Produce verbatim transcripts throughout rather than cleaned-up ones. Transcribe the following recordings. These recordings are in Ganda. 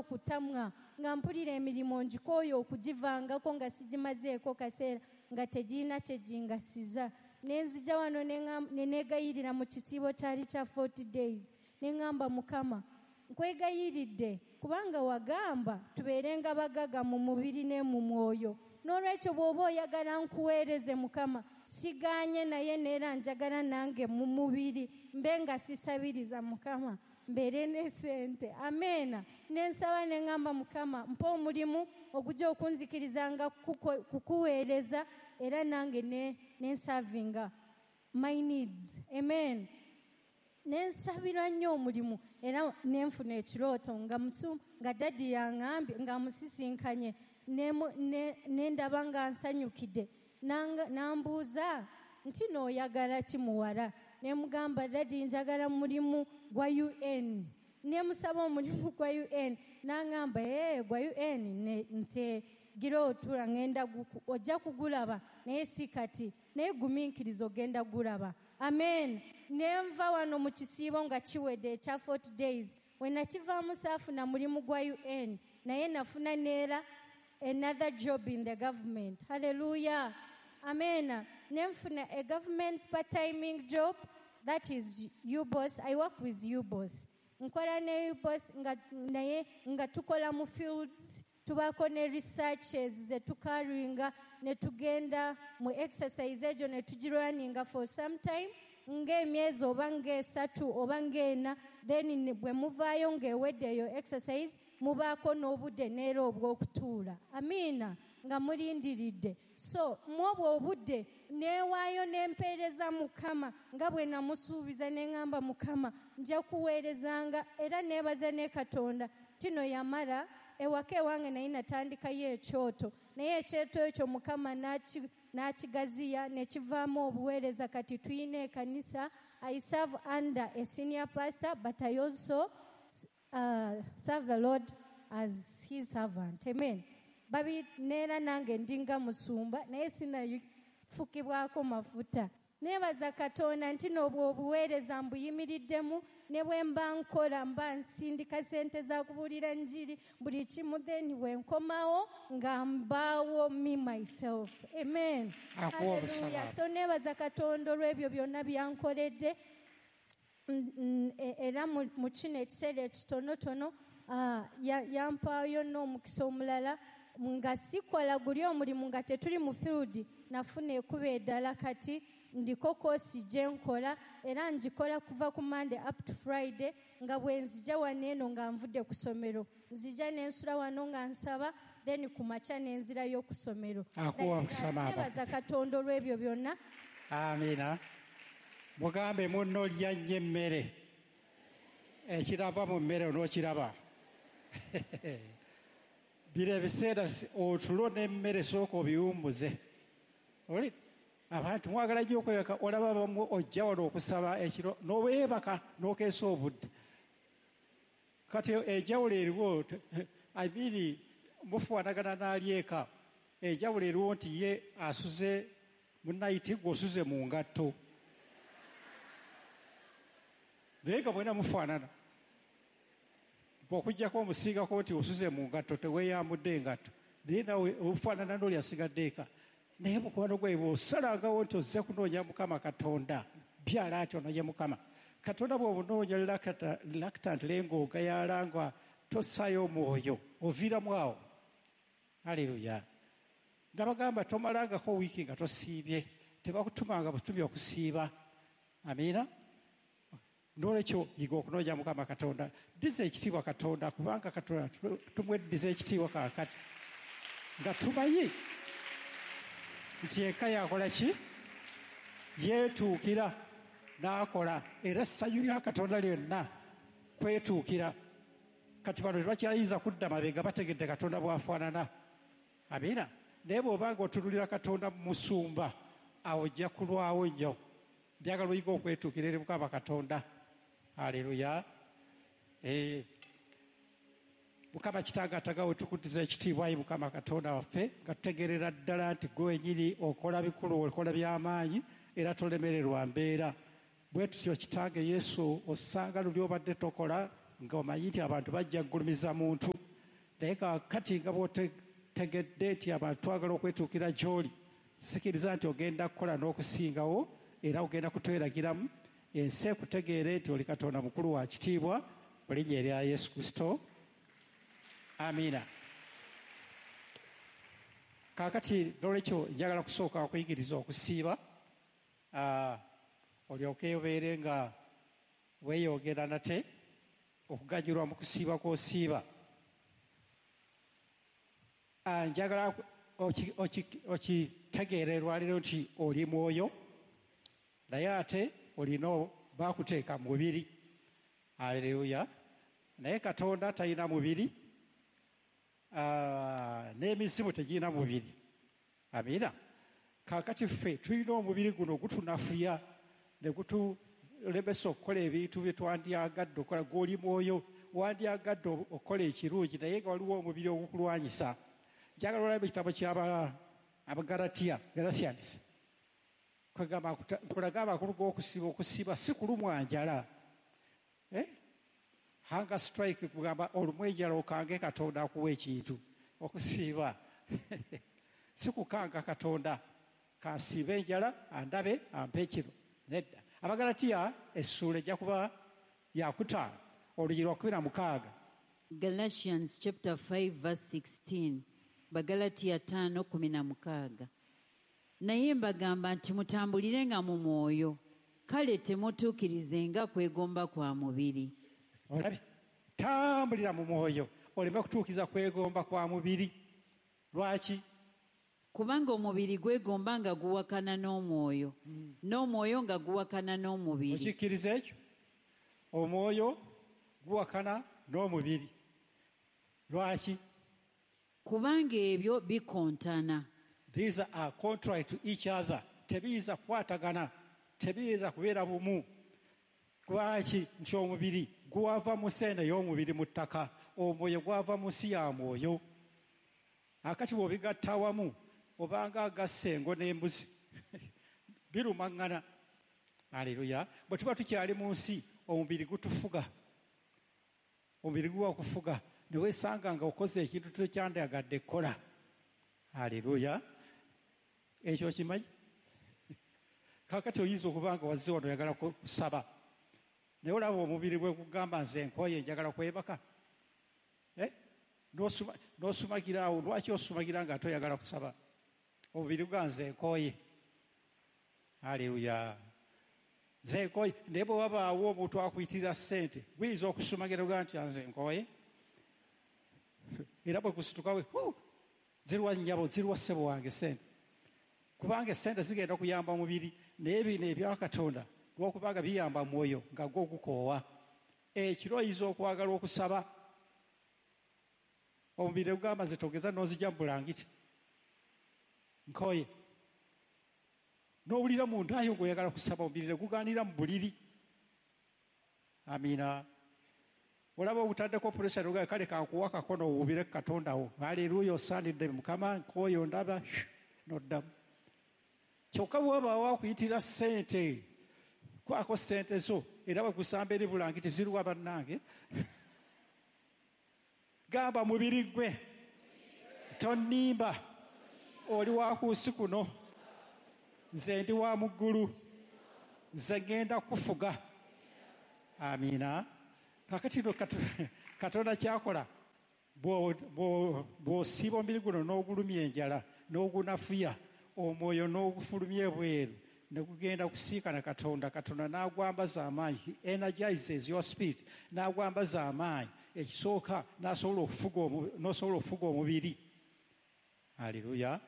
Okutamwa nga mpulira emirimu ngikooye okugivangako nga sigimazeeko kaseera nga tegirina kye gingasiza. Ne nzija wano ne neegayirira mu kisiibo kyali kya forty days, ne ŋŋamba, Mukama, nkwegayiridde kubanga wagamba tubeerenga bagaga mu mubiri ne mu mwoyo. N'olwekyo bw'oba oyagala nkuweereze, Mukama, sigaanye, naye neera njagala nange mu mubiri mbe nga sisabiriza, Mukama, mbeere ne ssente. Ameena. Ne nsaba ne ŋŋamba, Mukama, mpa omulimu ogujja okunzikirizanga kukuweereza era nange ne nsavinga my needs. Amen. Ne nsabira nnyo omulimu era ne nfuna ekirooto nga musu nga daddy yaŋŋambye nga musisinkanye ne ndaba nga nsanyukidde, n'ambuuza nti n'oyagala ki muwala? Ne mugamba, daddy, njagala mulimu gwa U N. Ne musaba omulimu gwa U N, n'aŋŋamba, ee, gwa U N nte gira otula ŋŋenda ojja kugulaba, naye si kati, naye gumiikiriza ogenda gulaba. Amen. Ne nva wano mu kisiibo nga kiwedde ekya forty days. We nakivaamu saafuna mulimu gwa U N, naye nafuna neera another job in the government. Hallelujah, amen. Ne nfuna a government part-timing job, that is U B O S. I work with U B O S, nkola ne U B O S nga naye nga tukola mu fields, tubaako ne researches ze tucarryinga ne tugenda mu exercise egyo ne tugirunninga for some time ng'emyezi oba ng'esatu oba ng'ena. Then bwe muvaayo ng'ewedde eyo exercise, mubaako n'obudde neera obw'okutuula, amiina, nga mulindiridde. So mu obwo obudde neewaayo n'empeereza Mukama nga bwe namusuubiza, ne ŋŋamba, Mukama, nja kuweerezanga. Era neebaza ne Katonda tino yamala ewaka ewange naye natandikayo ekyoto, naye ekyoto ekyo Mukama n'akigaziya ne kivaamu obuweereza. Kati tuyina ekanisa. I serve under a senior pastor, but I also uh, serve the Lord as his servant. Amen. Babi neera nange ndinga musumba, naye sinafukibwako mafuta. Neebaza Katonda nti n'obwo obuweereza mbuyimiriddemu, ne bwe mba nkola mba nsindika sente za kubuulira njiri buli kimu, then bwe nkomawo nga mbaawo me myself. Amen. Hallelujah. So neebaza Katonda olw'ebyo byonna byankoledde. Era mu kino ekiseera ekitonotono yampaayo n'omukisa omulala nga sikola guli omulimu nga tetuli mu field, nafuna ekuba eddala. Kati ndiko course gye nkola era ngikola kuva ku Monday up to Friday, nga bwe nzija wano eno nga nvudde ku ssomero, nzija ne nsula wano nga nsaba, then ku makya ne nzirayo ku ssomero. Nebaza Katonda olw'ebyo byonna. Amiina. Mugambe munno, lya nnyo emmere, ekirava mu mmere onookiraba. Biro ebiseera otulo n'emmere sooka obiwummuze. Oli abantu mwagala nnyo okwebaka, olaba bamu ojja wano okusaba ekiro n'oweebaka n'okeesa obudde. Kati enjawulo eriwo, abiri mufaanagana n'ali eka, enjawulo eriwo nti ye asuze mu night, gwe osuze mu ngatto, naye nga mwena mufaanana, okuggyako omusiigako nti osuze mu ngatto, teweeyambudde engatto, naye nawe ofaanana n'oli asigadde eka. Naye mukwano gwe bw'osalangawo nti ozze kunoonya Mukama Katonda, byala ati onoonye Mukama Katonda, bw'obunoonya reluctantly ng'ogayaala nga tossaayo omwoyo, oviiramu awo. Aleluya. Nabagamba tomalangako wiiki nga tosiibye, tebakutumanga butumi okusiiba. Amiina. N'olwekyo yiga okunoonya Mukama Katonda, ddiza ekitiibwa Katonda, kubanga Katonda tumweddiza ekitiibwa kaakati nga tumanyi nti eka yakola ki, yeetuukira n'akola, era essanyu lya Katonda lyonna kwetuukira. Kati bano tebakyayinza kudda mabega, bategedde Katonda bw'afaanana. Amiina. Naye bw'obanga otunulira Katonda musumba, awo ojja kulwawo nnyo. Njagala oyiga okwetuukira eri Mukama Katonda. Aleluya. Eh, Mukama Kitange atagawe, tukuddiza ekitiibwa, ayi Mukama Katonda waffe, nga tutegeerera ddala nti gwe wenyini okola bikulu, okola by'amaanyi, era tolemererwa mbeera. Bwe tutyo, Kitange Yesu, osanga luli obadde tokola nga omanyi nti abantu bajja kugulumiza muntu. Naye kaakati nga bw'otegedde nti abantu twagala okwetuukira gy'oli, sikiriza nti ogenda kukola n'okusingawo, era ogenda kutweragiramu ensi ekutegeere nti oli Katonda mukulu wa kitiibwa, mu linnya erya Yesu Kristo, amiina. Kaakati n'olwekyo njagala kusooka okuyigiriza okusiiba, olyoke obeere nga weeyongera nate okuganyulwa mu kusiiba kw'osiiba. Njagala okitegeera olwaleero nti oli mwoyo, naye ate olina baakuteeka mu mubiri. Aleluya. Naye Katonda talina mubiri, n'emizimu tegirina mubiri. Amiina. Kaakati ffe tulina omubiri guno gutunafuya ne gutulemesa okukola ebintu bye twandyagadde okukola. Gw'oli mwoyo, wandyagadde okukola ekirungi, naye nga waliwo omubiri ogukulwanyisa. Njagala olabe ekitabo ky'Abagalatiya, Galatians. Kwegamba nkulaga amakulu g'okusiba. Okusiba si kulumwa njala. Eh? Hunger strike kugamba olumwa enjala okange Katonda akuwa ekintu. Okusiba si kukanga Katonda, kansiibe enjala andabe ampe kino. Nedda. Abagalatiya essuula ejja kuba yakutaano olunyiriri lwa kkumi na mukaaga. Galatians chapter five verse sixteen. Bagalatiya ttaano kkumi na mukaaga. Naye mbagamba nti mutambulirenga mu mwoyo, kale temutuukirizenga kwegomba kwa mubiri. Olabye, tambulira mu mwoyo oleme kutuukiriza kwegomba kwa mubiri. Lwaki? Kubanga omubiri gwegomba nga guwakana n'omwoyo, mm. n'omwoyo nga guwakana n'omubiri. Okikkiriza ekyo? Omwoyo guwakana n'omubiri. Lwaki? Kubanga ebyo bikontana. These are contrary to each other. Tebiyinza kukwatagana, tebiyinza kubeera bumu. Lwaki? Nti omubiri gwava mu nsi eno ey'omubiri mu ttaka, omwoyo gwava mu nsi ya mwoyo. Akati bw'obigatta awamu obanga agassa engo n'embuzi birumaŋŋana. Aleluya. Bwe tuba tukyali mu nsi, omubiri gutufuga, omubiri guwa kufuga, ne weesanga nga okoze ekintu tokyandyagadde kukola. Aleluya. Ekyo okimanyi? Kaakati oyinza okuba nga wazze wano oyagala kusaba, naye olaba omubiri bwe gugamba nze nkooye njagala kwebaka, eh? N'osumagira awo. Lwaki osumagira nga ate oyagala kusaba? Omubiri gwa nze nkooye. Aleluya. Nze nkooye. Naye bwe wabaawo omuntu akuyitirira ssente, guyinza okusumagira ogaa nti nze nkooye, era bwe gusituka we zirwa nnyabo, zirwa ssebo wange ssente, kubanga essente zigenda okuyamba omubiri, naye bino ebya Katonda lw'okubanga biyamba mwoyo nga gwo gukoowa. Ekiro oyinza okwagala okusaba, omubiri gugamba nze togeza n'ozijja mu bulangiti, nkooye. N'owulira munda yo ng'oyagala kusaba, omubiri ne gugaanira mu buliri. Amiina. Olaba obutaddeko pressure n'ogamba kale kankuwa akakono owuubire ku Katonda wo. Aleluya, osaanidde Mukama, nkooye ondaba, n'oddamu. Kyokka bw'obaawo akuyitira ssente, kwako ssente zo, era bwe gusamba eri bulangiti ziruwa bannange. Gamba mubiri gwe, tonnimba, oli wa ku nsi kuno, nze ndi wa mu ggulu, nze ŋŋenda kufuga. Amiina. Kakati no Katonda kyakola, bw'osiiba omubiri guno n'ogulumya enjala n'ogunafuya, omwoyo n'ogufulumya ebweru, ne gugenda kusiikana Katonda. Katonda n'agwambaza amaanyi. He energizes your spirit, n'agwambaza amaanyi. Ekisooka n'asobola okufuga n'osobola okufuga omubiri. Aleluya.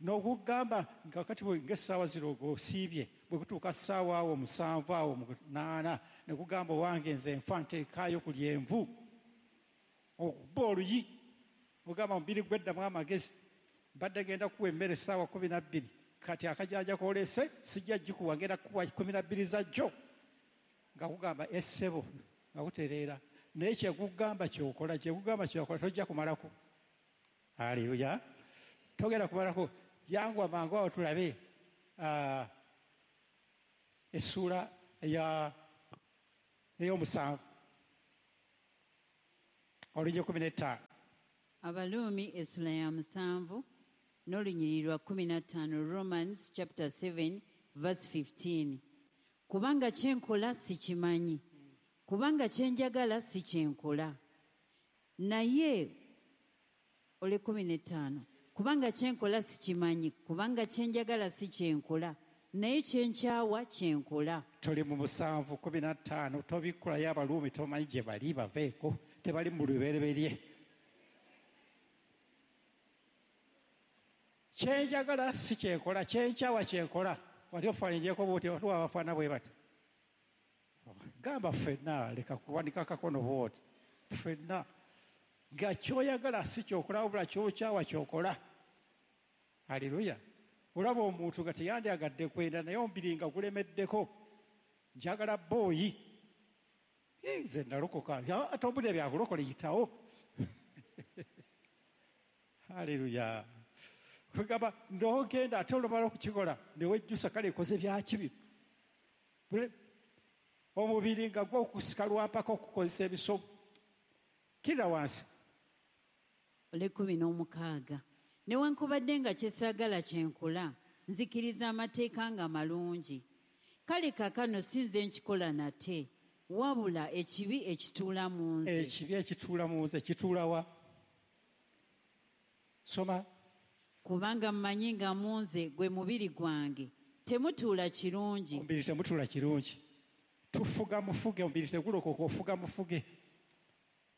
N'ogugamba nga kati ng'essaawa zino ng'osiibye, bwe kutuuka ssaawa awo musanvu awo munaana, ne kugamba wange nze nfa nteekaayo ku lyenvu, okuba oluyi, ogamba omubiri gweddamu amagezi, mbadde ngenda kuwa emmere essaawa kkumi na bbiri, kati akajanja k'oleese sijja gikuwa, ngenda kukuwa kkumi na bbiri za jjo. Nga kugamba essebo, nga kutereera. Naye kyekugamba ky'okola, kyekugamba ky'okola, tojja kumalako. Aleluya. Togenda kumalako. Yanguwa mangu awo tulabe essuula ey'omusanvu olunyiriri kkumi n'ettaano. Abaluumi essula ya musanvu n'olunyiriri lwa kkumi na ttaano, Romans chapter seven verse fifteen. Kubanga kye nkola sikimanyi, kubanga kye njagala si kye nkola. Naye ole kkumi na ttaano, kubanga kye nkola sikimanyi, kubanga kye njagala si kye nkola, naye kye nkyawa kye nkola. Tuli mu musanvu kkumi na ttaano, tobikkulayo Abaluumi, tomanyi gye bali, baveeko, tebali mu lubereberye. Kye njagala si kye nkola, kye nkyawa kye nkola. Wali ofaananyeko bw'oti, waliwo abafaana bwe bati. Gamba ffenna, leka kuwanika akakono bw'oti. Ffenna nga ky'oyagala si ky'okola, wabula ky'okyawa ky'okola. Haleluya. Olaba omuntu nga teyandyagadde kwenda, naye omubiri nga gulemeddeko. Njagala booyi. Nze nalokoka. Ate obudde byakulokola yitawo. Haleluya. Kugamba n'ogenda ate olumala okukikola ne wejjusa, kale ekoze bya kibi. Omubiri nga gwokusika lwampaka okukozesa ebisomo. Kira wansi. Ole kkumi n'omukaaga. Newankubadde nga kye saagala kye nkola, nzikiriza amateeka nga malungi. Kale kaakano si nze nkikola nate, wabula ekibi ekituula mu nze. Ekibi ekituula mu nze kituula wa? Soma. Kubanga mmanyi nga mu nze gwe mubiri gwange temutuula kirungi. Omubiri temutuula kirungi. Tufuga mufuge, omubiri tegulokoka, ofuga mufuge.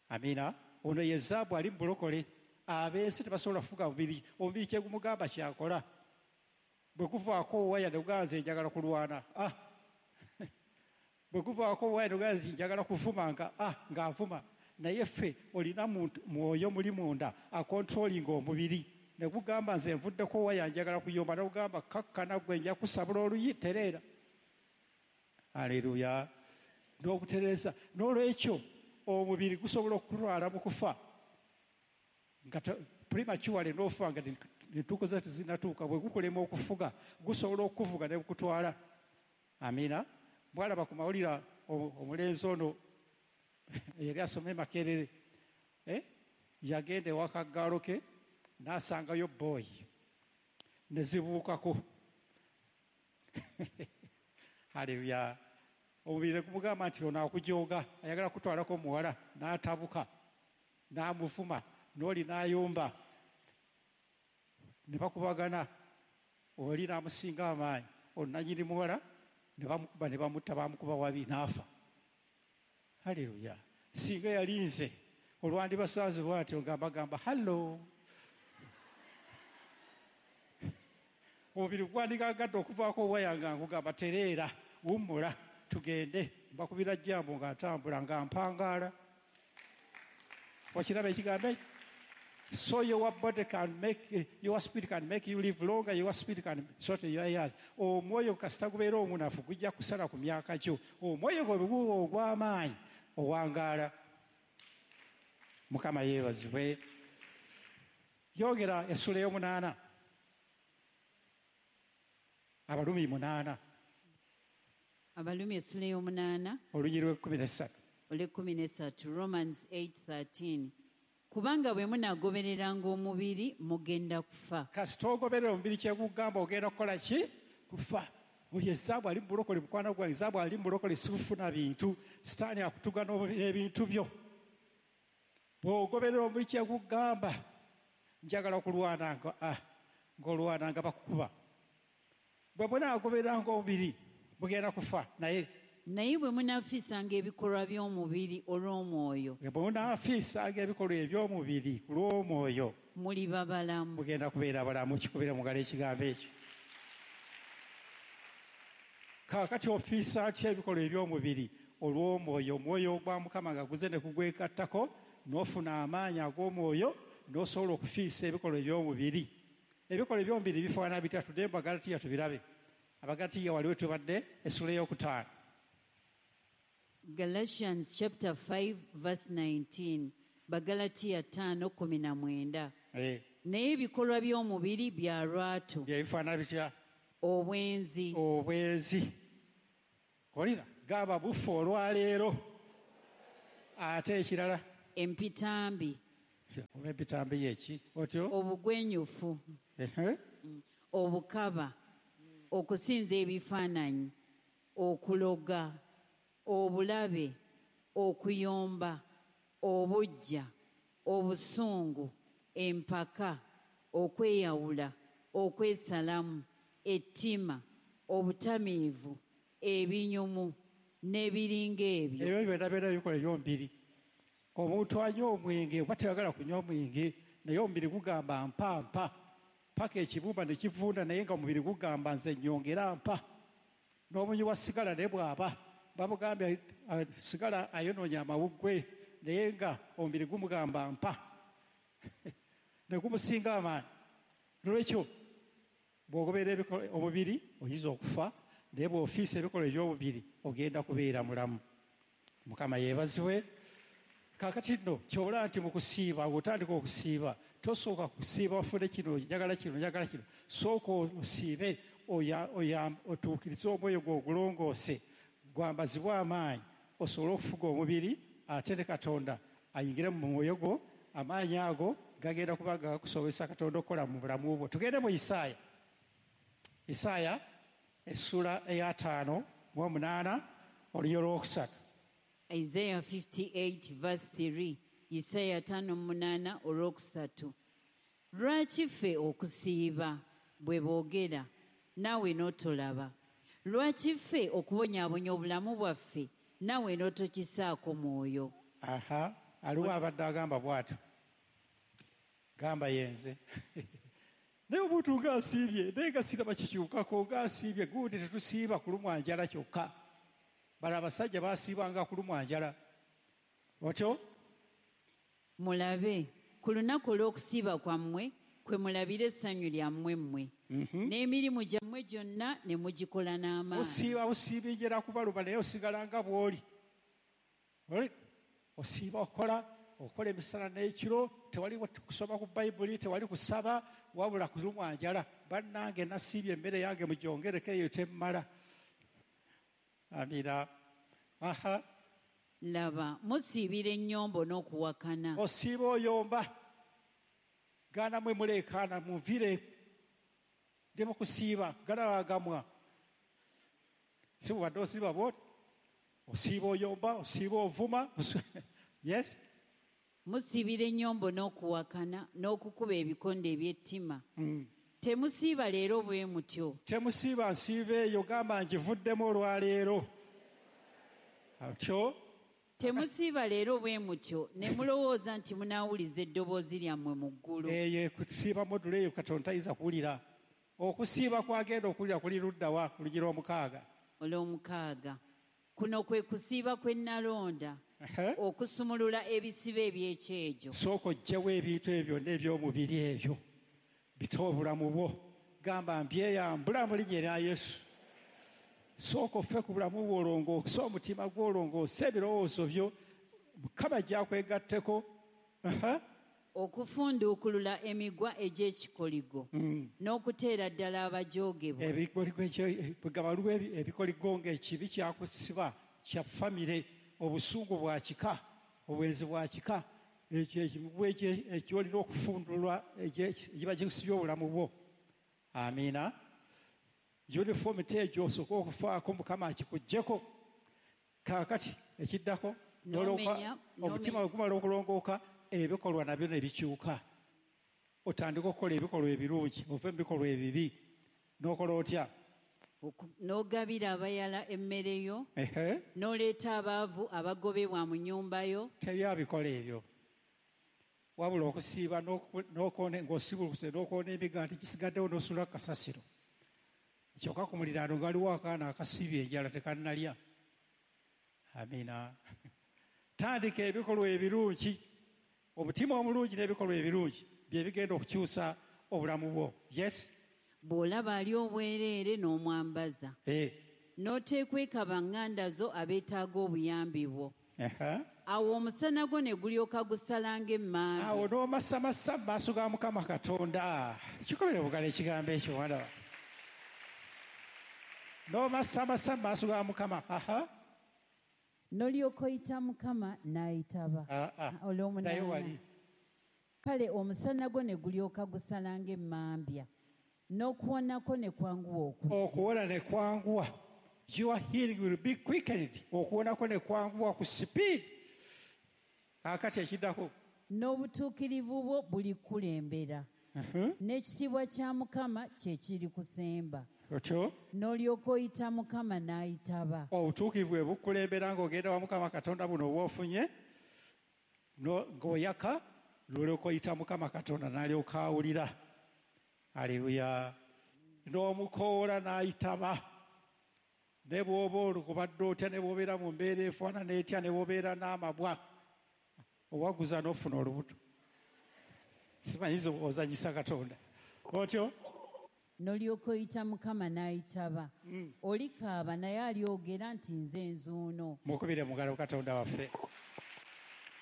Amina. Ono ye zaabu ali mu bulokole. Ab'ensi tebasobola kufuga mubiri. Omubiri kye gumugamba kyakola. Bwe guvaako waya ne gugamba nze njagala kulwana. Ah. Bwe guvaako waya ne gugamba nze njagala kuvuma nga ah, ng'avuma. Naye ffe olina mwoyo muli munda akontrolinga omubiri. Ne gugamba nze nvuddeko waya njagala kuyomba, ne gugamba kakkana gwe nja kusabula oluyi, tereera. Haleluya. N'okutereeza. N'olwekyo omubiri gusobola okulwala mu kufa. Nga prematurely n'ofa nga entuuko tezinnatuuka, bwe gukulema okufuga gusobola okukuvuga ne gukutwala. Amina. Bw'alaba ku mawulire omulenzi ono eyali asoma e Makerere, eh? Yagenda ewa kaggaalo ke n'asangayo booyi ne zibuukako. Haleluya. Omubiri ne gumugamba nti ono akujooga, ayagala kutwalako muwala, n'atabuka n'amuvuma, n'oli n'ayomba, ne bakubagana, oli n'amusinga amaanyi, ono nannyini muwala ne bamukuba ne bamutta, bamukuba wabi n'afa. Haleluya. Singa yali nze olwandibasanze bw'atyo nga mbagamba hallo. Omubiri gwandigagadde okuvaako waya nga nkugamba tereera, wummula, tugende. Mbakubira jambo nga ntambula nga mpangaala. Wakiraba ekigambo ekyo? So your body can make, your spirit can make you live longer, your spirit can shorten your years. Omwoyo kasita gubeera omunafu gujja kusala ku myaka gyo. Omwoyo gwe guba ogw'amaanyi owangaala. Mukama yeebazibwe. Yogera essula ey'omunaana. Abalumi munaana. Abalumi essula ey'omunaana. Olunyiriri lw'ekkumi n'essatu. Olw'ekkumi n'essatu, Romans eight thirteen. Kubanga bwe munaagobereranga omubiri mugenda kufa. Kasita ogoberera omubiri kye gugamba ogenda kukola ki? Kufa. Oyo ezaabu ali mu bulokole, mukwano gwange, ezaabu ali mu bulokole si kufuna bintu. Sitaani akutuga n'ebintu byo. Bw'ogoberera omubiri kye gugamba, njagala kulwana nga, ah, ng'olwana nga bakukuba. Bwe munaagobereranga omubiri mugenda kufa. Naye naye bwe munaafiisanga ebikolwa by'omubiri olw'omwoyo, bwe munaafiisanga ebikolwa eby'omubiri ku lw'omwoyo, muliba balamu. Mugenda kubeera balamu. Kikubira mu ngalo ekigambo ekyo. Kaakati ofiisa atya ebikolwa eby'omubiri olw'omwoyo? Omwoyo gwa Mukama nga guze ne kugwekattako, n'ofuna amaanyi ag'omwoyo, n'osobola okufiisa ebikolwa eby'omubiri. Ebikolwa eby'omubiri bifaanana bitya? Tudde mu Bagalatiya tubirabe. Abagalatiya waliwo tubadde essula ey'okutaano. Galatians chapter five verse nineteen. Bagalatiya ttaano kkumi na mwenda. Eh. Naye ebikolwa by'omubiri bya lwatu. Bye bifaanana bitya? Obwenzi. Obwenzi. Kolira gamba bufu olwaleero. Ate ekirala? Empitambi. Oba ebitambi yeki otyo? Obugwenyufu, obukaba, okusinza ebifaananyi, okuloga, obulabe, okuyomba, obuggya, obusungu, empaka, okweyawula, okwesalamu, ettima, obutamiivu, ebinyumu n'ebiringa ebyo. Ebyo byonna byonna bikola ebyomubiri. Omuntu anywa omwenge oba teyagala kunywa omwenge, naye omubiri gugamba mpa mpa paka ekibumba ne kivunda, naye nga omubiri gugamba nze nnyongera mpa. N'omunywi wa sigala naye bw'aba bamugambye sigala ayonoonya amawuggwe, naye nga omubiri gumugamba mpa ne gumusinga amaanyi. Nolwekyo bw'ogoberera omubiri oyinza okufa, naye bw'ofiisa ebikolwa eby'omubiri ogenda kubeera mulamu. Mukama yeebazibwe. Kaakati nno ky'olaba nti mu kusiiba, bw'otandika okusiiba tosooka kusiiba ofune kino, njagala kino, njagala kino. Sooka osiibe otuukirize omwoyo gwo ogulongoose, gwambazibwe amaanyi osobole okufuga omubiri, ate ne Katonda ayingire mu mwoyo gwo. Amaanyi ago gagenda kuba nga gakusobozesa Katonda okukola mu bulamu bwo. Tugende mu Isaaya. Isaaya essula ey'ataano mu omunaana olunyiriri olwokusatu. Isaiah fifty-eight verse three. Isaaya ataano mu munaana olwokusatu. Lwaki ffe okusiiba bwe boogera naawe n'otolaba? Lwaki ffe okubonyaabonya obulamu bwaffe naawe n'otokisaako mwoyo? Aha, aliwo abadde agamba bw'atyo. Gamba yenze. Naye omuntu ng'asiibye, naye nga siraba kikyukako, ng'asiibye, gundi tetusiiba kulumwa njala kyokka. Bano abasajja basiibanga kulumwa njala. Otyo? Mulabe, ku lunaku olw'okusiiba kwammwe kwe mulabira essanyu lyammwe mmwe. N'emirimu gyammwe gyonna ne mugikola n'amaanyi. Osiiba osiiba enjala kubaluma, naye osigala nga bw'oli. Osiiba okola, okola emisana n'ekiro, tewali kusoma ku Bayibuli, tewali kusaba, wabula kulumwa njala. Bannange nasiibye emmere yange mugyongereko eyo temmala. Amina. Aha. Laba, musiibira ennyombo n'okuwakana. Osiiba oyomba. Gaana mwe muleekaana, munvire. Ndi mu kusiiba, galabagamwa. Si bw'obadde osiiba bw'oti? Osiiba oyomba, osiiba ovuma. Yes? Musiibira ennyombo n'okuwakana n'okukuba ebikonde eby'ettima. Temusiiba leero bwe mutyo. Temusiiba nsiiba eyo, gamba ngivuddemu olwaleero. Atyo? Temusiiba leero bwe mutyo ne mulowooza nti munaawuliza eddoboozi lyammwe mu ggulu. Eyo kusiiba modula eyo Katonda tayinza kuwulira. Okusiiba kwagenda okuwulira kuli ludda wa? Ku lugi lw'omukaaga. Olw'omukaaga. Kuno kwe kusiiba kwe nnalonda. Okusumulula ebisiba eby'ekyejo. Sooka oggyewo ebintu ebyo byonna eby'omubiri ebyo. Bite obulamu bwo. Gamba mbyeyambula mu linnya erya Yesu. Sooka ofe ku bulamu bwo olongoose omutima gwo, olongoose ebirowoozo byo. Mukama gy'akwegatteko. Okufunduukulula emigwa egy'ekikoligo n'okuteera ddala abajoogebwa. Ebikoligo ebikoligo ng'ekibi kyakusiba kya famire, obusungu bwa kika, obwenzi bwa kika, ekyo ekimugwa ekyolina okufundulwa egiba gikusibye obulamu bwo. Amiina. Uniformity egyo osooka okufaako Mukama akikuggyeko. Kaakati ekiddako omutima bwe gumala okulongooka, ebikolwa nabyo ne bikyuka. Otandika okukola ebikolwa ebirungi, ove mu bikolwa ebibi. N'okola otya? N'ogabira abayala emmere yo, n'oleeta abaavu abagobebwa mu nnyumba yo. Tebyabikola ebyo. Wabula okusiiba ng'osibulukuse n'okoona emigaati gisigaddewo n'osuula ku kasasiro. Kyokka ku muliraano galiwo akaana akasiibye enjala tekannalya. Amiina. Tandika ebikolwa ebirungi. Omutima omulungi n'ebikolwa ebirungi bye bigenda okukyusa obulamu bwo. Yes? Bw'olaba ali obwereere n'omwambaza. N'oteekweka baŋŋanda zo abeetaaga obuyambi bwo. Awo omusana gwo ne gulyoka gusala ng'emmambe. Awo n'omasamasa mu maaso ga Mukama Katonda. Kikobere bugala ekigambo ekyo mwana wange. N'omasamasa mu maaso ga Mukama. Aha. N'olyoka oyita Mukama n'ayitaba. Naye wali. Kale omusana gwo ne gulyoka gusala ng'emmambya, n'okuwonako ne kwanguwa okujja. Okuwona ne kwanguwa. Your healing will be quickened. Okuwonako ne kwanguwa ku speed. Kaakati ekiddako. N'obutuukirivu bwo bulikulembera. N'ekitiibwa kya Mukama kye kiri kusemba. Otyo? N'olyoka oyita Mukama n'ayitaba. Obutuukirivu bwe bukulembera ng'ogenda wa Mukama Katonda buno bw'ofunye, ng'oyaka, n'olyoka oyita Mukama Katonda n'alyoka awulira. Aleluya. N'omukoola n'ayitaba. Ne bw'oba olukubadde otya, ne bw'obeera mu mbeera efaanana etya, ne bw'obeera n'amabwa, owaguza n'ofuna olubuto. Simanyiza ozanyisa Katonda. Otyo? N'olyoka oyita Mukama n'ayitaba. Olikaaba naye alyogera nti nze nzuuno. Mukubire mu ngalo Katonda waffe.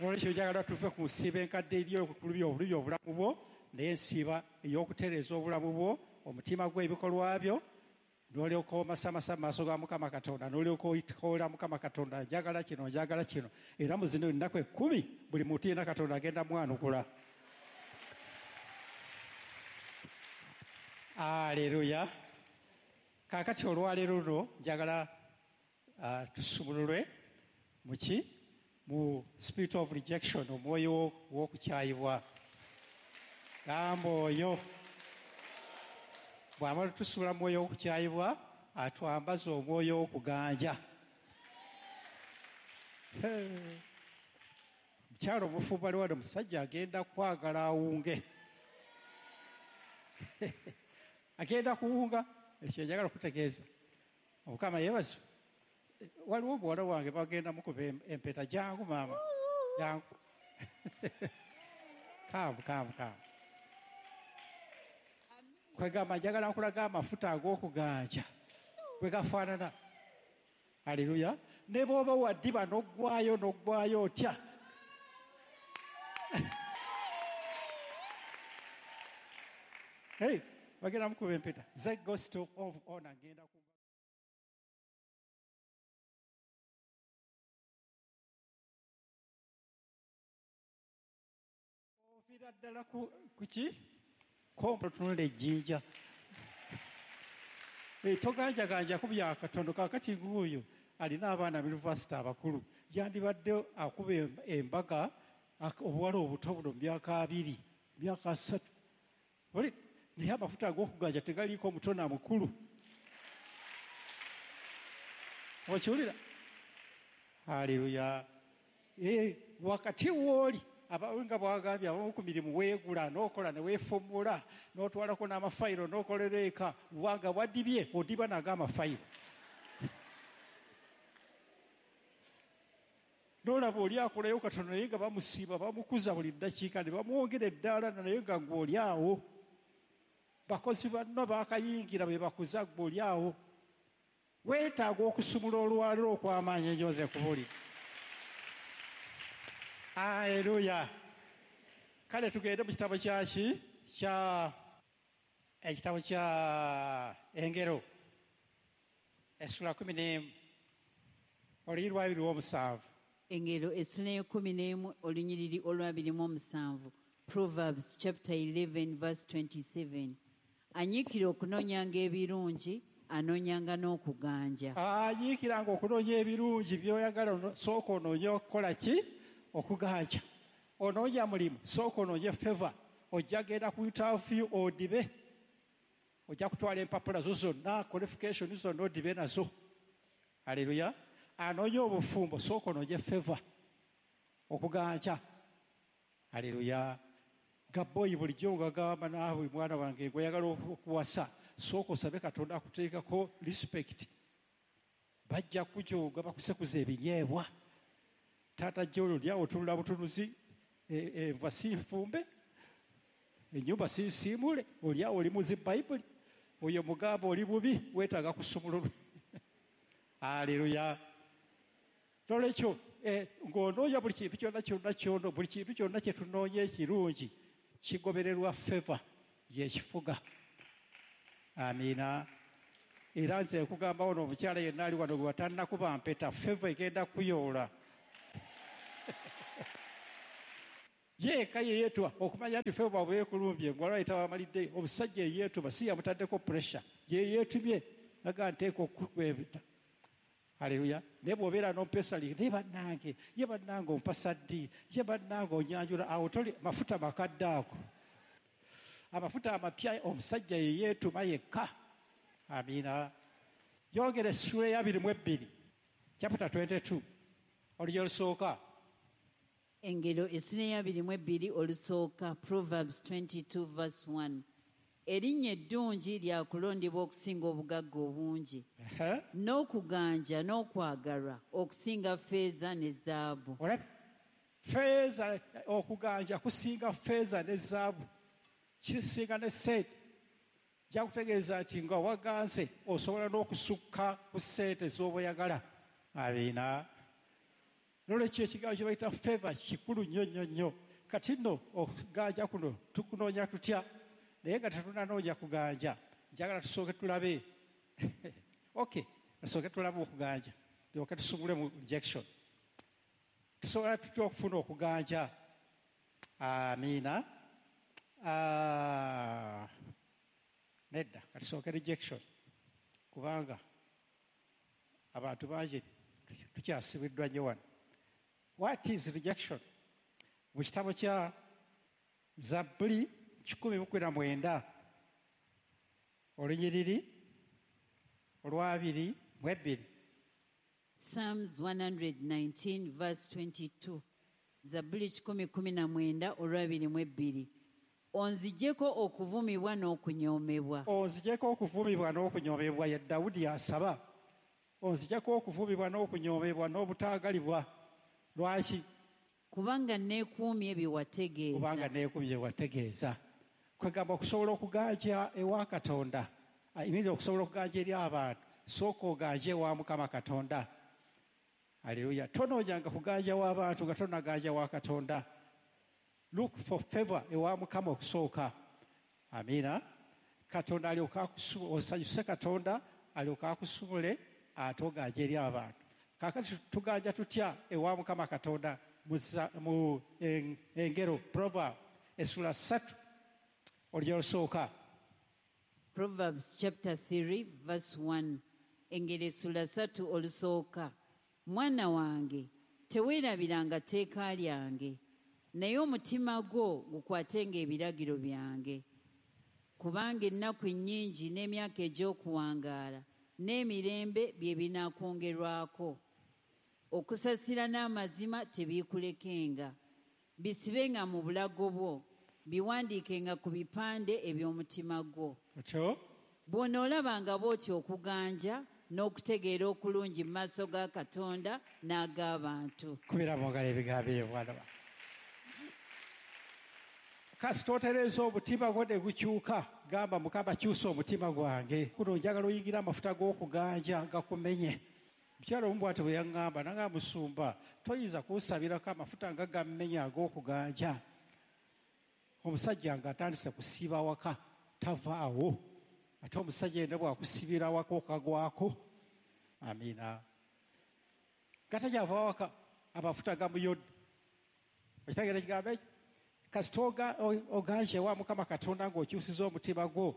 Olwekyo njagala tuve ku nsiiba enkadde eri okulubya obulubya obulamu bwo, naye ensiiba ey'okutereeza obulamu bwo, omutima gwo, ebikolwa byo, n'olyoka omasamasa mu maaso ga Mukama Katonda, n'olyoka oyikoola Mukama Katonda, njagala kino, njagala kino. Era mu zino ennaku ekkumi buli muntu yenna Katonda agenda mwanukula. Aleluya. Kaakati olwaleero luno njagala uh, tusumululwe muki mu spirit of rejection, omwoyo w'okukyayibwa. Gamba oyo bw'amala tusula mwoyo w'okukyayibwa, atwambaza omwoyo w'okuganja. Mukyalo omufumbo ali wano, omusajja agenda kwagala awunge. Agenda kuwunga. Ekyo njagala okutegeeza. Omukama yeebazibwe. Waliwo omuwala wange bagenda mukuba empeta. Jangu maama, jangu. Kaamu, kaamu, kaamu. Kwegamba njagala nkulaga amafuta ag'okuganja bwe gafaanana. Aleluya. Ne bw'oba waddiba n'oggwayo n'oggwayo otya. Hey, bagenda mukuba empeta. The gospel of honor ngenda ku oviira ddala ku ki? Kompo tunula ejjinja. Eh, toganjaganja ku bya Katonda. Kaakati ng'oyo alina abaana mu yunivasite abakulu, yandibadde akuba embaga obuwala obuto buno mu myaka abiri, myaka asatu. Naye amafuta ag'okuganja tegaliiko muto na mukulu. Okiwulira? Haleluya. Eh, wakati w'oli nga bwagambye abamu ku mirimu weegula n'okola ne weefumula n'otwalako n'amafayiro n'okolera eka, wanga wadibye odiba nago amafayiro. N'olaba oli akolayo katono naye nga bamusiiba bamukuza buli ddakiika ne bamwongera eddaala naye nga gwe oli awo. Bakozi banno baakayingira be bakuza gwe oli awo. Weetaaga okusumula olwaliro okw'amaanyi ennyo nze nkubuulira. Aleluya. Kale tugende mu kitabo kyaki kya ekitabo kya Engero essula kumi n'emu olunyiriri lw'abiri omusanvu. Engero essula y'ekkumi n'emu olunyiriri olw'abiri mu omusanvu. Proverbs chapter eleven verse twenty-seven. Anyiikira okunoonyanga ebirungi, anoonyanga n'okuganja. Anyiikiranga okunoonya ebirungi by'oyagala, sooka onoonye okukola ki? Okuganja. Onoonya mulimu, sooka onoonye favor. Ojja genda ku interview odibe. Ojja kutwala empapula zo zonna, qualification zonna odibe nazo. Haleluya. Anoonya obufumbo, sooka onoonye favor. Okuganja. Haleluya. Gaboyi bulijjo ngagamba naawe mwana wange gw'oyagala okuwasa, sooka osabe Katonda akuteekako respect. Bajja kujooga bakusekuza ebinyeebwa. Taata jolo lyawo otunula butunuzi, enva si nfumbe, ennyumba si nsiimule, olyawo oli muzi Bayibuli, oyo mugamba oli bubi, weetaaga kusumululwa. Haleluya. Nolwekyo ng'onoonya buli kintu kyonna kyonna kyonna, buli kintu kyonna kye tunoonya ekirungi kigobererwa favor y'ekifuga. Amiina. Era nze nkugamba ono omukyala yenna ali wano gwe batannakuba mpeta, favor egenda kuyoola. Yeeka ye yeetuma okumanya nti ffe bwabwekulumbye ngwalwayita wamalidde omusajja eyeetuma si yamutaddeko pressure ye yeetumye naga nteeka okukwebita. Haleluya. Naye bw'obeera n'ompesa ye bannange ye bannange ompasa ddi ye bannange onyanjula awo toli mafuta makadde ago. Amafuta amapya omusajja ye yeetuma yekka. Amiina. Yongera essuula ey'abiri mu ebbiri chapter twenty-two olugero olusooka. Engero essula ey'abiri mu ebbiri olusooka, Proverbs twenty-two verse one. Erinnya eddungi lyakulondebwa okusinga obugagga obungi, n'okuganja n'okwagalwa okusinga ffeeza ne zaabu. Ffeeza, okuganja kusinga ffeeza ne zaabu, kisinga ne ssente. Nja kutegeeza nti nga waganze osobola n'okusukka ku ssente z'oba oyagala. Amiina. Nolwekyo ekigambo kye bayita favor kikulu nnyo nnyo nnyo. Kati nno okuganja kuno tukunoonya tutya? Naye nga tetunnanoonya kuganja, njagala tusooke tulabe. Okay, tusooke tulabe okuganja, tulyoke tusungule mu rejection. Tusobola tutya okufuna okuganja? Amiina. Ah, nedda, katusooke rejection, kubanga abantu bangi tukyasibiddwa nnyo wano. What is rejection? Mu kitabo kya Zabbuli kikumi mu kumi na mwenda olunyiriri olwabiri mu ebbiri. Psalms one hundred nineteen verse twenty-two. Zabbuli kikumi kumi na mwenda olwabiri mu ebbiri. Onzigyeko okuvumibwa n'okunyoomebwa. Onzigyeko okuvumibwa n'okunyoomebwa, ye Dawudi asaba. Onzigyeko okuvumibwa n'okunyoomebwa n'obutaagalibwa. Lwaki? Kubanga neekuumye bye wategeeza. Kubanga neekuumye bye wategeeza. Kwegamba okusobola okuganja ewa Katonda, immediately okusobola okuganja eri abantu, sooka oganje ewa Mukama Katonda. Haleluya. Tonoonyanga kuganja w'abantu nga tonnaganja wa Katonda. Look for favor ewa Mukama okusooka. Amiina. Katonda alyoke osanyuse Katonda alyoke akusumule ate oganje eri abantu. Kaakati tuganja tutya ewa Mukama Katonda? Mu engero Proverb essula ssatu olugero olusooka. Proverbs chapter three verse one. Engero essula ssatu olusooka. Mwana wange teweerabiranga tteeka lyange, naye omutima gwo gukwatenga ebiragiro byange. Kubanga ennaku nnyingi n'emyaka egy'okuwangaala n'emirembe bye binaakwongerwako. Okusasira n'amazima tebiikulekenga, bisibenga mu bulago bwo, biwandiikenga ku bipande eby'omutima gwo. Otyo? Bw'onoolabanga bw'otyo okuganja n'okutegeera okulungi mu maaso ga Katonda n'ag'abantu. Kubira mu ngalo ebigambo ebyo, mwana wange. Kasita otereeza omutima gwo ne gukyuka, gamba Mukama kyusa omutima gwange. Kuno njagala oyingira amafuta g'okuganja gakumenye. Mukyala omu bw'atyo bwe yaŋŋamba, nanga musumba, toyinza kunsabirako amafuta nga gammenya ag'okuganja. Omusajja ng'atandise kusiiba waka, tavaawo. Ate omusajja yenna bw'akusibira waka okagwako. Amiina. Nga takyava waka, amafuta gamuyodde. Okitegeera ekigambo ekyo? Kasita oganje ewa Mukama Katonda ng'okyusiza omutima gwo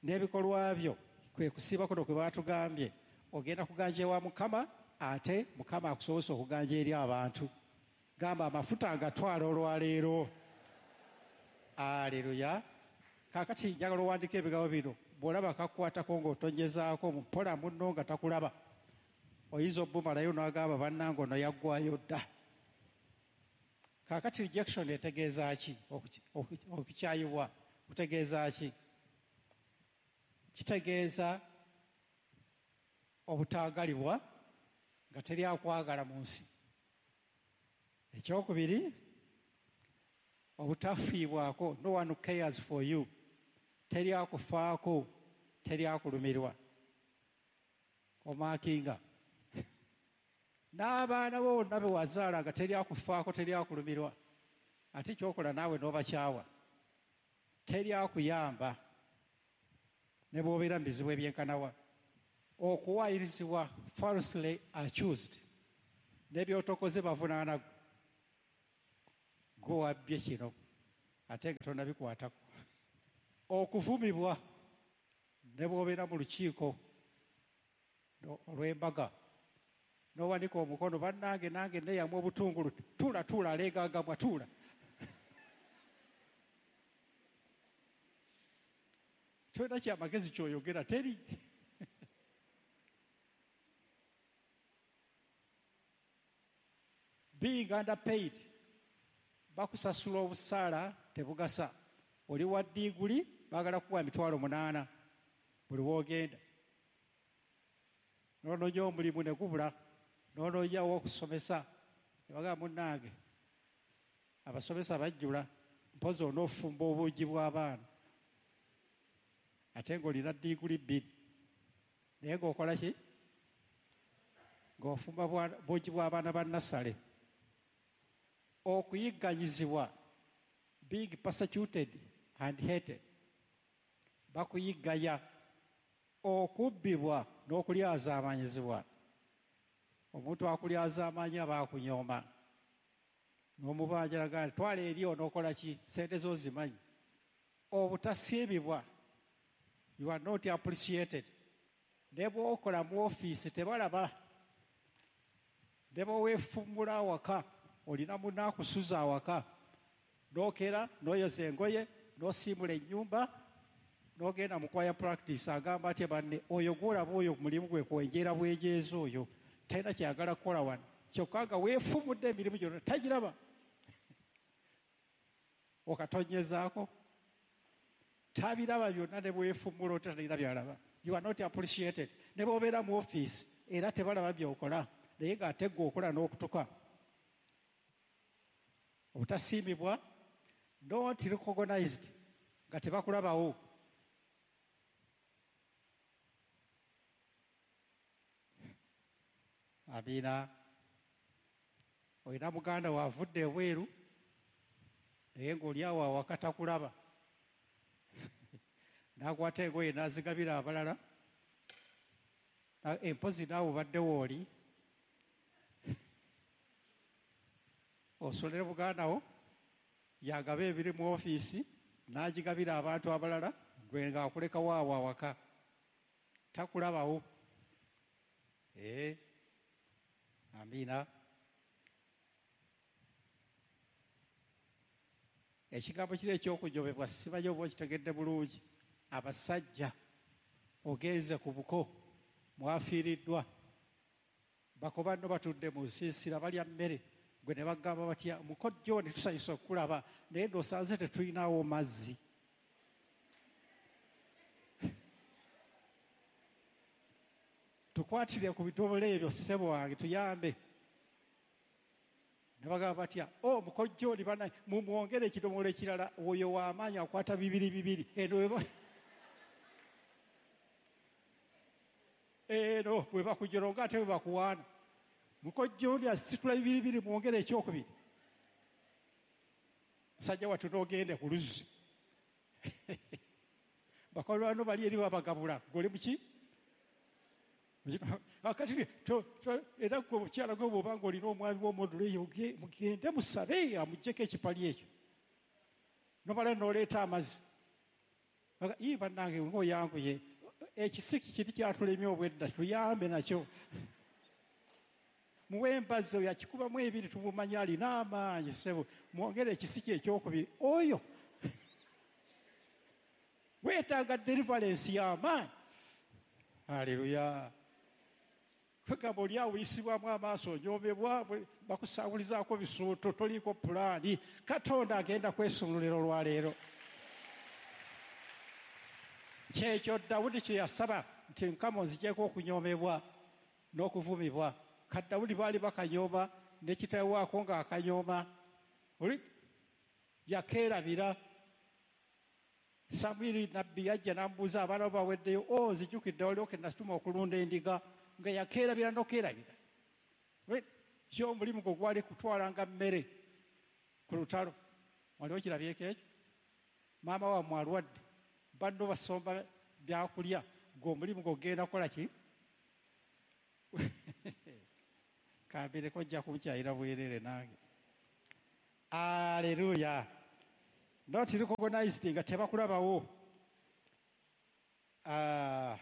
n'ebikolwa byo, kwe kusiiba kuno kwe baatugambye, ogenda kuganja ewa Mukama, ate Mukama akusobozesa okuganja eri abantu. Gamba amafuta ngatwala olwaleero. Aleluya. Kaakati njagala owandiike ebigambo bino. Bw'olaba kakukwatako ng'otonyezaako mpola munno nga takulaba, oyinza obbumalayo n'agamba bannange ono yaggwayo dda. Kaakati rejection etegeeza ki? Okukyayibwa kutegeeza ki? Kitegeeza obutaagalibwa nga teri akwagala mu nsi. Ekyokubiri, obutafiibwako, no one cares for you. Teri akufaako, teri akulumirwa. Omaakinga. N'abaana bo bonna be wazaala nga teri akufaako, teri akulumirwa. Ate ky'okola naawe n'obakyawa. Teri akuyamba ne bw'obeera mu bizibu ebyenkanawa. Okuwaayirizibwa, falsely accused. N'ebyotokoze bavunaana. Gwe wabbye kino ate nga tonnabikwatako. Okuvumibwa ne bw'obeera mu lukiiko olw'embaga n'owanika omukono, bannange nange neeyamu obutungulu, tuula tuula aleegagambwa tuula. Tolina kyamagezi ky'oyogera teri. Being underpaid, bakusasula obusaala tebugasa. Oli wa ddiguli baagala kukuwa emitwalo munaana buli w'ogenda. N'onoonya omulimu ne gubula, n'onoonya ow'okusomesa ne bagamba munnange abasomesa bajjula, mpozi onoofumba obuugi bw'abaana ate ng'olina ddiguli bbiri naye ng'okola ki? Ng'ofumba buugi bw'abaana ba nnasale. Okuyigganyizibwa, being persecuted and hated, bakuyiggaya. Okubbibwa n'okulyazaamanyizibwa, omuntu akulyazaamanya aba akunyooma n'omubanja agamba nti twala eri onookola ki, ssente zo zimanyi. Obutasiimibwa, you are not appreciated. Ne bw'okola mu ofiisi tebalaba, ne bw'oweefumbula awaka olina munno akusuza awaka, n'okera n'oyoza engoye n'osiimula ennyumba n'ogenda mu choir practice, agamba atya banne oyo gw'olaba oyo mulimu gwe kwenjeera bwenjeezi, oyo talina kyayagala kukola wano, kyokka nga weefumudde emirimu gyonna tagiraba. Okatonyezaako tabiraba byonna, ne bwefumula otya talina byalaba. You are not appreciated. Ne bw'obeera mu ofiisi era tebalaba by'okola, naye ng'ate ggwe okola n'okutuka. Obutasiimibwa, not recognized, nga tebakulabawo. Amiina. Olina muganda waavudde ebweru naye ng'oli awo awaka takulaba, n'akwata engoye n'azigabira abalala, empozi naawe obaddewo oli osolere muganda wo yagaba ebiri mu ofiisi n'agigabira abantu abalala, gwe ng'akulekawo awo awaka takulabawo. Ee, amiina. Ekigambo kiri eky'okunyomebwa simanyi oba okitegedde bulungi. Abasajja ogenze ku buko mwafiiriddwa, bako banno batudde mu nsiisira balya mmere, gwe ne bagamba batya mukojjo ne tusanyusa okulaba naye ndoosanze tetulinawo mazzi. Tukwatire ku bidomola ebyo ssebo wange tuyambe. Ne bagamba batya o mukojjo oli bana mumwongere ekidomola ekirala, oyo w'amaanyi akwata bibiri bibiri eno eno bwe bakujoronga ate bwe bakuwaana. Mukojjo oli asitula bibiri bibiri mwongere ekyokubiri. Musajja wattu n'ogende ku luzzi. Bakolwano bali eri babagabula, gwe oli muki? Akati era gwe omukyala gwe bw'oba ng'olina omwami w'omuddulo eyo mugende musabe amuggyeko ekipali ekyo, nomala n'oleeta amazzi. Ii bannange ng'oyanguye, ekisiki kiri kyatulemye obwedda tuyambe nakyo. Muwe embazzi oyo akikubamu ebiri tumumanyi alina amaanyi ssebo, mwongere ekisiki ekyokubiri. Oyo weetaaga deliverance y'amaanyi. Haleluya. Kwegamba oli awo oyisibwamu amaaso, onyoomebwa, bakusaabulizaako bisuuto, toliiko pulaani. Katonda agenda kwesumululira olwaleero. Kyekyo Dawudi kye yasaba nti Mukama onzigyeko okunyoomebwa n'okuvumibwa. Ka Dawudi baali bakanyooma ne kitaawe waako ng'akanyooma, oli yakeerabira. Samwiri nabbi yajja n'amubuuza abaana bo baweddeyo, o nzijukidde waliwo ke nasituma okulunda endiga, nga yakeerabira n'okeerabira. Kyo omulimu gwe gwali kutwalanga mmere ku lutalo. Waliwo kirabyeko ekyo? Maama wammwe alwadde, banno basomba byakulya, gwe omulimu gwe ogenda kukola ki? Kambireko ojja kunkyayira bwereere nange. Aleluya. Not recognized nga tebakulabawo. Ah,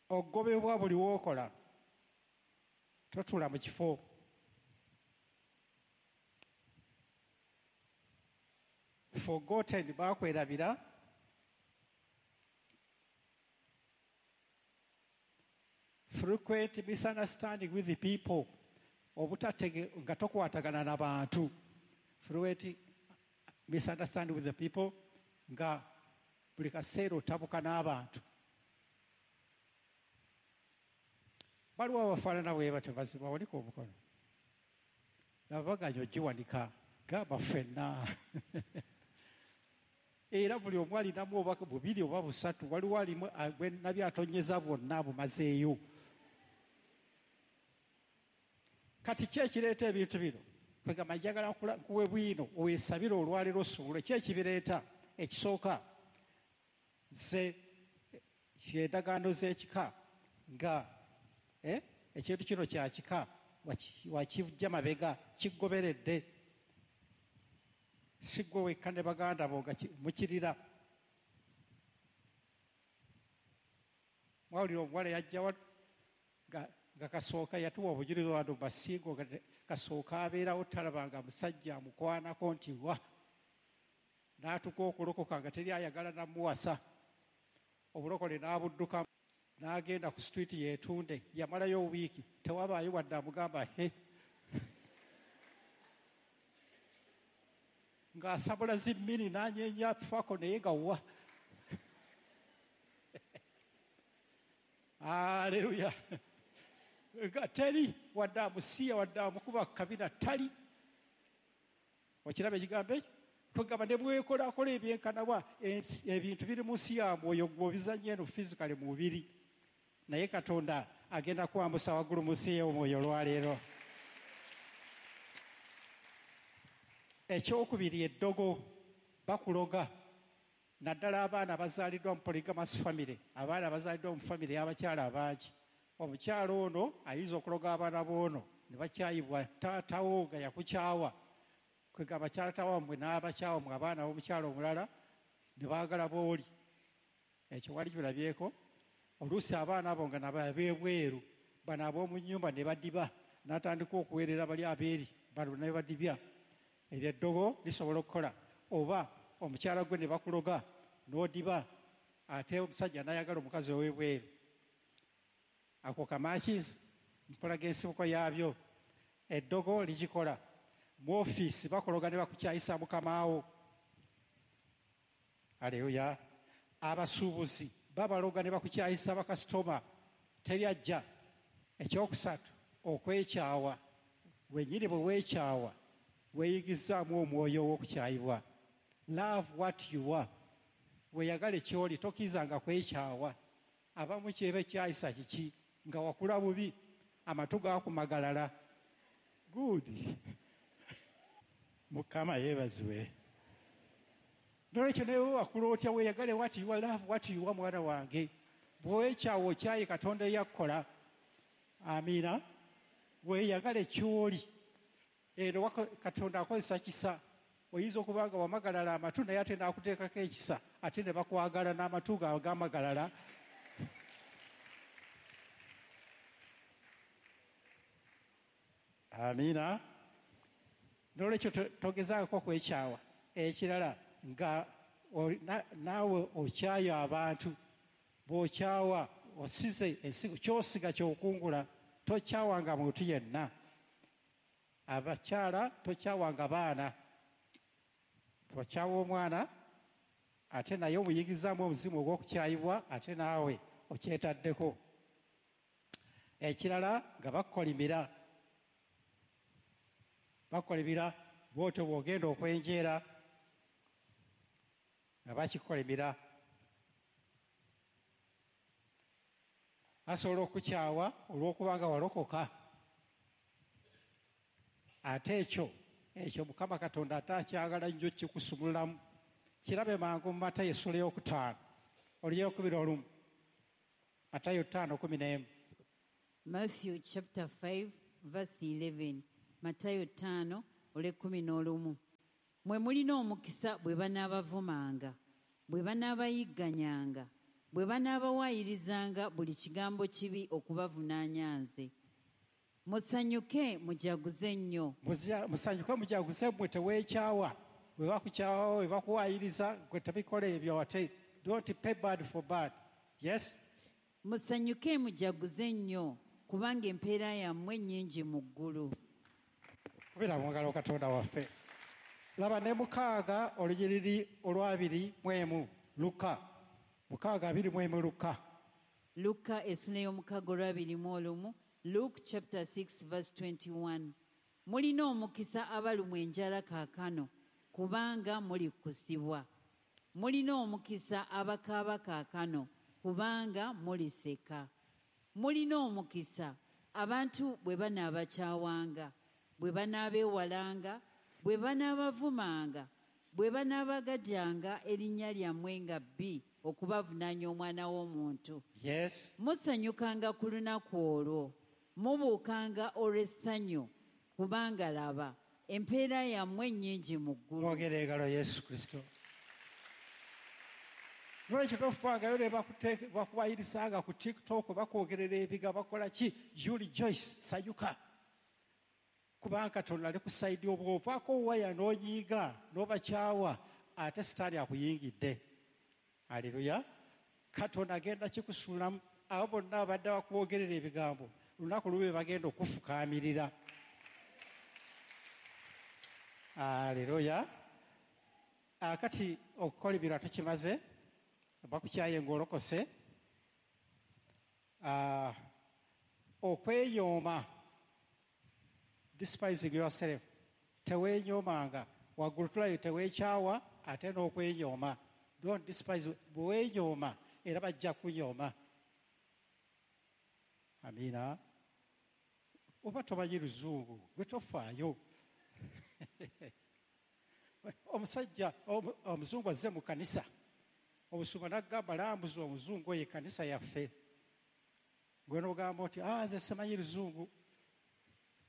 ogobebwa buli w'okola, totula mu kifo. Forgotten, bakwerabira. Frequent misunderstanding with the people, obutatege nga tokwatagana n'abantu. Frequent misunderstanding with the people, nga buli kaseera otabuka n'abantu. Waliwo abafaanana bwe batyo, bazima wanika omukono. Nabaganya ogiwanika, gamba ffenna. Era buli omu alinamu oba bubiri oba busatu, waliwo alimu gwe nabyo atonyeza bwonna bumazeeyo. Kati ki ekireeta ebintu bino? Kwegamba njagala nkuwe bwino weesabire olwaleero osobole. Ki ekibireeta? Ekisooka ze endagaano z'ekika, nga eh, ekintu kino kya kika, wakijja mabega, kigoberedde. Si ggwe wekka ne baganda bo nga mukirira. Mwawulira omuwala yajja wano nga, nga kasooka yatuwa obujulizi wano basingo, nga kasooka abeerawo talabanga musajja amukwanako nti wa, n'atuuka okulokoka nga teri ayagala namuwasa. Obulokole n'abudduka n'agenda ku street yeetunde, yamalayo wiiki tewabaayo wadde amugamba he, ng'asabula zimmini n'anyeenya faako naye nga wa. Aleluya. Nga teri wadde amusiya wadde amukuba kabina tali. Okiraba ekigambo ekyo? Kwegamba ne bwekolakola ebyenkanawa, ebintu biri mu nsi ya mwoyo, gwe obizannya eno physically mu mubiri, naye Katonda agenda kwambusa waggulu mu nsi y'omwoyo olwaleero. Ekyokubiri, eddogo, bakuloga, naddala abaana abazaaliddwa mu polygamous family, abaana abazaaliddwa mu family y'abakyala abangi. Omukyala ono ayinza okuloga abaana b'ono ne bakyayibwa taatawo nga yakukyawa. Kwegamba taata wammwe n'abakyawa mmwe abaana b'omukyala omulala ne baagala b'oli. Ekyo wali kirabyeko. Oluusi abaana abo nga nabo ab'ebweru, bano ab'omu nnyumba ne badiba, n'atandika okuweerera bali abeeri, bano ne badibya. Eryo eddogo lisobola okukola. Oba omukyala gwe ne bakuloga n'odiba, ate omusajja n'ayagala omukazi ow'ebweru. Ako kamakizi mpolaga ensibuko yaabyo. Eddogo ligikola. Mu ofiisi bakologa ne bakukyayisa mukamaawo. Aleluya. Abasuubuzi babaloga ne bakukyayisa bakasitoma, teri ajja. Ekyokusatu, okwekyawa. Wennyini bwe weekyawa weeyigizaamu omwoyo ow'okukyayibwa. Love what you are. Weeyagale ky'oli, tokkirizanga kwekyawa. Abamu kyeba ekyayisa kiki? Nga wakula bubi, amatu gaakumagalala. Good. Mukama yeebazibwe. Nolwekyo naye wakula otya, weeyagale what you are, love what you are, mwana wange. Bw'owekyawa okyaye Katonda eyakukola. Amiina. Weeyagale ky'oli. Eno Katonda akozesa kisa. Oyinza okuba nga wamagalala amatu naye ate n'akuteekako ekisa, ate ne bakwagala n'amatu gaabwe gamagalala. Amiina. Nolwekyo togezaako kwekyawa. Ekirala nga naawe okyayo abantu, bw'okyawa osize ensigo, ky'osiga ky'okungula. Tokyawanga muntu yenna. Abakyala tokyawanga baana. Okyawa omwana ate naye omuyigizaamu omuzimu ogw'okukyayibwa, ate naawe okyetaddeko. Ekirala nga bakukolimira, bakukolimira bw'otyo bw'ogenda okwenjeera nga bakikukolimira. Basobola okukyawa olw'okubanga walokoka, ate ekyo ekyo Mukama Katonda ate akyagala nnyo kikusumululamu. Kirabe mangu mu Matayo essula ey'okutaano olunyiriri olumu. Matayo ttaano kumi n'emu. Matthew chapter five verse eleven. Matayo ttaano olw'ekkumi n'olumu. Mwe mulina omukisa bwe banaabavumanga, bwe banaabayigganyanga, bwe banaabawayirizanga buli kigambo kibi okubavunaanya nze. Musanyuke mujaguze nnyo. Musanyuke mujaguze mmwe teweekyawa. Bwe bakukyawa, bwe bakuwaayiriza, gwe tebikola ebyo ate. Don't pay bad for bad. Yes? Musanyuke mujaguze nnyo kubanga empeera yammwe nnyingi mu ggulu. Kubira mu ngalo Katonda waffe. Laba ne mukaaga olunyiriri olwabiri mu emu Luka. Mukaaga abiri mu emu Luka. Luka essula ey'omukaaga olwabiri mu olumu. Luke chapter six verse twenty-one. Mulina omukisa abalumwa enjala kaakano kubanga mulikkusibwa. Mulina omukisa abakaaba kaakano kubanga muliseka. Mulina omukisa abantu bwe banaabakyawanga, bwe banaabeewalanga, bwe banaabavumanga, bwe banaabagajjanga erinnya lyammwe nga bbi okubavunaanya omwana w'omuntu. Yes. Musanyukanga ku lunaku olwo, mubuukanga olw'essanyu, kubanga laba empeera yammwe nnyingi mu ggulu. Mwogere engalo Yesu Kristo. Lwaki tofangayo ne bakuwayirisanga ku TikTok, bakwogerera ebiga, bakola ki? You rejoice, sanyuka. Kubanga Katonda ali ku sayidi obw'ovaako waya n'onyiiga n'obakyawa, ate Sitaani akuyingidde. Haleluya. Katonda agenda kikusuulamu. Abo bonna abadde bakwogerera ebigambo, lunaku lube bagenda okufukaamirira. Haleluya. Akati okukola ebirala tukimaze, bakukyaye ng'olokose. Okweyooma, despising yourself, teweenyoomanga. Waggulu tulayo teweekyawa ate n'okwenyooma. Don't despise, bwe weenyooma era bajja kunyooma. Amiina. Oba tomanyi luzungu, gwe tofaayo. Omusajja omuzungu azze mu kanisa, omusumba n'agamba lambuza omuzungu oyo ekkanisa yaffe. Gwe n'ogamba oti ah, nze simanyi luzungu.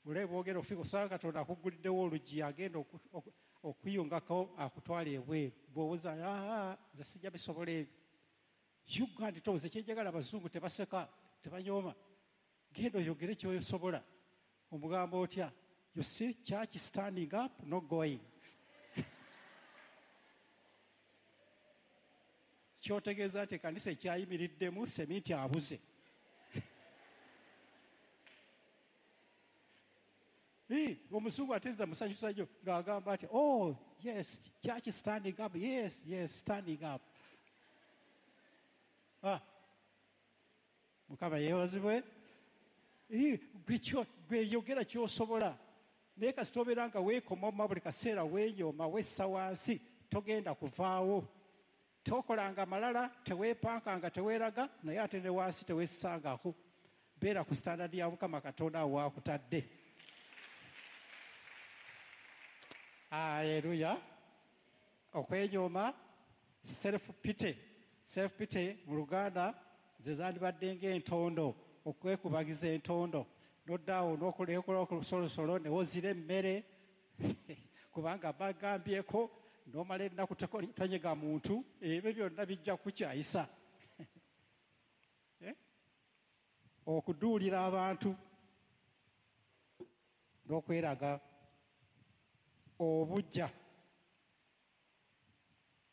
Ole bwogera ofika osanga Katonda akugguliddewo oluggi agenda okuyungako akutwala ebweru. Bw'owoza ah, nze sijja bisobola ebyo. Uganda towoza kyenjagala abazungu tebaseka, tebanyooma. Genda oyogere ky'osobola. Omugamba otya? You see church standing up, not going. Kyotegeeza nti ekkanisa ekyayimiriddemu seminti abuze. Omuzungu ateza musanyusa nnyo ng'agamba nti oh yes, church standing up, yes, yes, standing up. Ah. Mukama yeebazibwe. Gwe yogera ky'osobola. Naye kasita obeera nga weekomoma buli kaseera, weenyooma, wessa wansi, togenda kuvaawo. Tokolanga malala, teweepankanga, teweeraga, naye ate ne wansi teweessangako. Beera ku standard ya Mukama Katonda awo waakutadde. Haleluya. Okwenyooma, self pity. Self pity mu Luganda ze zandibadde ng'entondo, okwekubagiza entondo. N'oddaawo n'okola olusolosolo ne wozira emmere kubanga bagambyeko, n'omala ennaku tonyega muntu, ebyo byonna bijja kukyayisa. Okuduulira abantu n'okweraga obujja.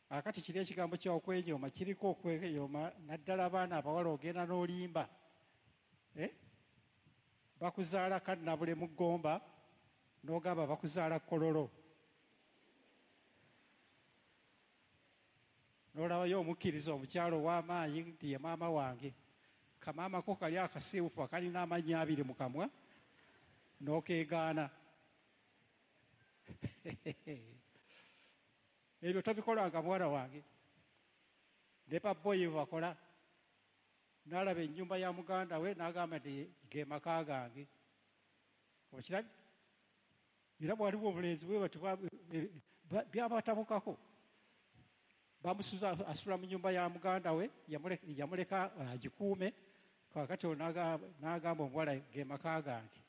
Akati kiri ekigambo kya okwenyooma kiriko okwenyooma naddala abaana abawala ogenda n'olimba. Eh? Bakuzaala kannabule mu ggomba n'ogamba bakuzaala kololo. N'olabayo omukkiriza omukyalo ow'amaanyi nti ye maama wange. Kamaama ko kali akasiiwufu akalina amannya abiri mu kamwa n'okeegaana. Ebyo tobikolanga muwala wange. Ne baboyi bwe bakola. N'alaba ennyumba ya muganda we n'agamba nti ge maka gange. Okirabye? Era bwaliwo obulenzi bwe bati byabatabukako. Bamusuza asula mu nnyumba ya muganda we, yamuleka agikuume. Kaakati n'agamba omuwala ge maka gange.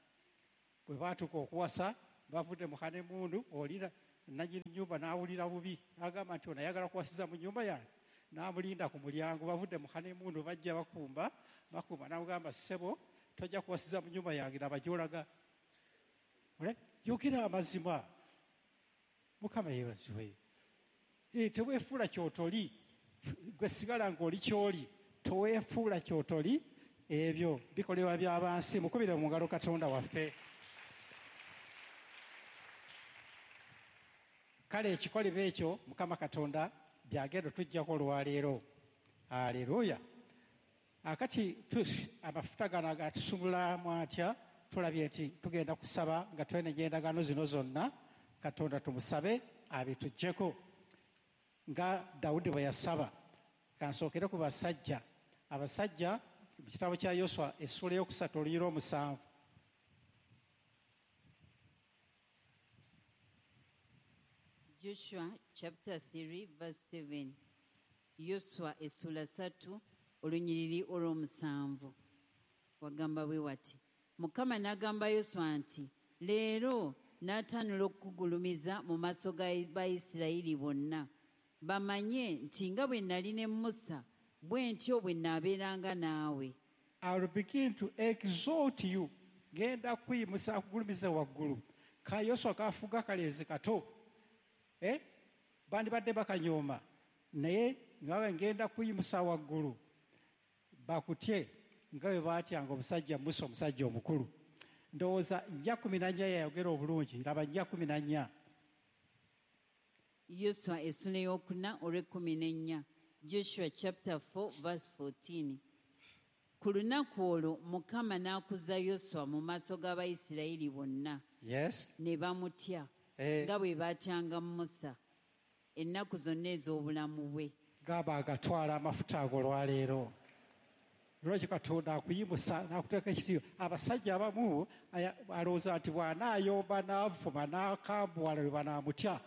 Bwe baatuuka okuwasa bavudde mu honeymoon, olira nannyini nnyumba n'awulira bubi, n'agamba nti ono ayagala kuwasiza mu nnyumba yange, n'amulinda ku mulyango. Bavudde mu honeymoon bajja bakumba bakumba, n'amugamba ssebo tojja kuwasiza mu nnyumba yange, laba gy'olaga. Yogera amazima. Mukama yeebazibwe. Teweefuula ky'otoli, gwe sigala ng'oli ky'oli, toweefuula ky'otoli. Ebyo bikolebwa by'abansi. Mukubire mu ngalo Katonda waffe. Kale ekikolebwa ekyo Mukama Katonda byagenda tujjako olwaleero. Aleluya. Akati amafuta gano agatusumulamu atya? Tulabye nti tugenda kusaba nga twenenya endagaano zino zonna. Katonda tumusabe abituggyeko nga Dawudi bwe yasaba. Kansookere ku basajja. Abasajja mu kitabo kya Yoswa essuula ey'okusatu olunyiriri omusanvu. Joshua chapter three verse seven. Yoswa essuula ssatu olunyiriri olw'omusanvu. Wagamba bwe wati: Mukama n'agamba Yoswa nti leero n'atanula okukugulumiza mu maaso ga Bayisirayiri bonna, bamanye nti nga bwe nali ne Musa bwe ntyo bwe naabeeranga naawe. I will begin to exalt you. Ngenda kuyimusa akugulumiza waggulu. Ka Yoswa kafuga kalenzi kato, eh? Bandibadde bakanyooma, naye nga ngenda kuyimusa waggulu bakutye nga bwe baatyanga omusajja Musa, omusajja omukulu. Ndowooza nnya kumi na nnya yayogera obulungi. Laba nnya kumi na nnya. Yoswa essula ey'okuna olw'ekkumi n'ennya. Joshua chapter four verse fourteen. Ku lunaku olwo Mukama n'akuza Yoswa mu maaso g'Abayisirayiri bonna. Yes. Ne bamutya eh. nga bwe baatyanga Musa ennaku zonna ez'obulamu bwe. Gaba agatwala amafuta ago olwaleero. Lwaki Katonda akuyimusa n'akuteeka ekitiibwa? Abasajja abamu alowooza nti bw'anaayomba n'avuma n'akambuwala lwe banaamutya,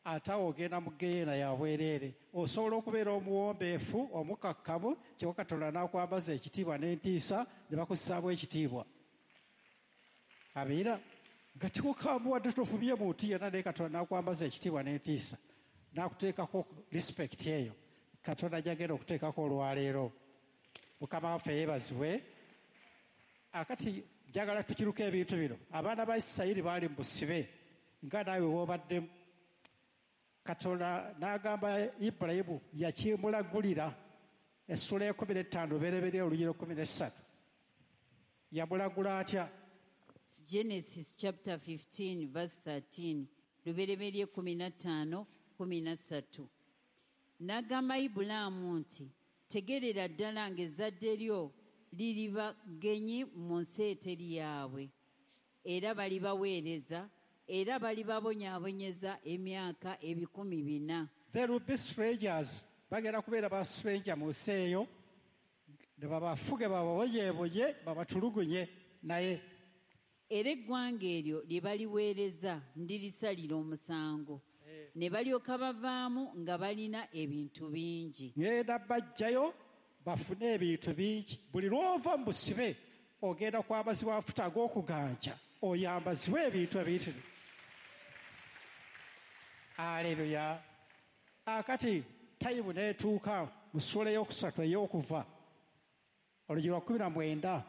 ate awo ogenda mu ggeyeena ya bwereere. Osobola okubeera omuwombeefu omukakkamu, kyokka Katonda n'akwambaza ekitiibwa n'entiisa ne bakussaamu ekitiibwa. Abeera nga tikukambuwadde, tofubye muntu yenna, naye Katonda n'akwambaza ekitiibwa n'entiisa n'akuteekako respect eyo Katonda gy'agenda okuteekako olwaleero. Mukama waffe yeebazibwe. Akati njagala tukiruka ebintu bino. Abaana ba Isirayiri baali mu busibe nga naawe w'obaddemu. Katonda n'agamba Ibulayimu, yakimulagulira essuula y'ekkumi n'ettaano bereberye olunyiriri ekkumi n'essatu. Yamulagula atya? Genesis chapter fifteen verse thirteen. Lubereberye kkumi na ttaano kkumi na ssatu. N'agamba Ibulaamu nti tegerera ddala ng'ezzadde lyo liriba ggenyi mu nsi eteri yaabwe, era balibaweereza, era balibabonyaabonyeza emyaka ebikumi bina. There will be strangers. Bagenda kubeera ba stranger mu nsi eyo, ne babafuge bababonyeebonye babatulugunye. Naye era eggwanga eryo lye baliweereza ndirisalira omusango, ne balyoka bavaamu nga balina ebintu bingi. Ngenda bajjayo bafune ebintu bingi. Buli lw'ova mu busibe ogenda kwambazibwa amafuta ag'okuganja, oyambazibwe ebintu ebiyitirivu. Aleluya. Akati tayimu n'etuuka mu ssuula ey'okusatu ey'okuva olugi lwa kkumi na mwenda.